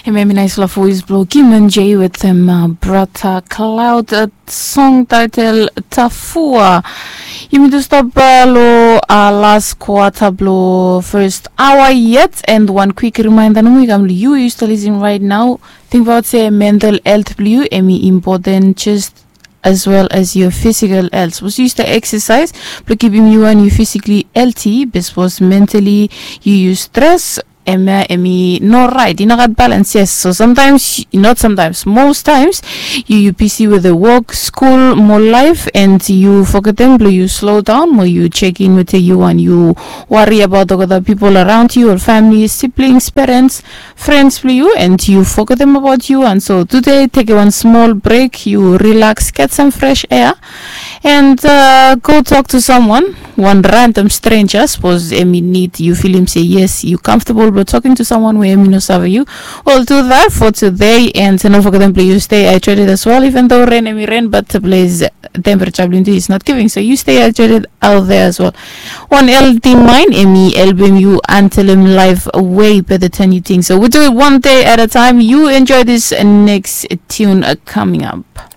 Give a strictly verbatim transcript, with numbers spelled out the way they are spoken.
Hemia hemi naispela voes bilong Kimon J wetem uh, Brata Cloud, uh, song title Tafua. Yumi tu stap uh, lo uh, last quarter bilong first hour yet, and one quick reminder nomo i kam, you used to listen right now. Think about se mental health bilong you emi important just as well as your physical health. Suppose you used to exercise bilong keeping you and you physically healthy, but suppose mentally you use stress, emia emi no right, i no gat balance. Yes, so sometimes, not sometimes, most times you you busy with the work, school, more life, and you forget them, you slow down more, you check in with you and you worry about the other people around you, or family, siblings, parents, friends bilong you, and you forget them about you. And so today take one small break, you relax, get some fresh air, and uh, go talk to someone, one random stranger. Suppose emi need, you feel him say yes, you comfortable but talking to someone where emi no serve you. We'll do that for today, and don't forget them, please, you stay hydrated as well, even though rain emi rain, but please, temperature is not giving, so you stay hydrated out there as well. One healthy mind emi helping you until him life way better than you think. So we do it one day at a time. You enjoy this next tune uh, coming up.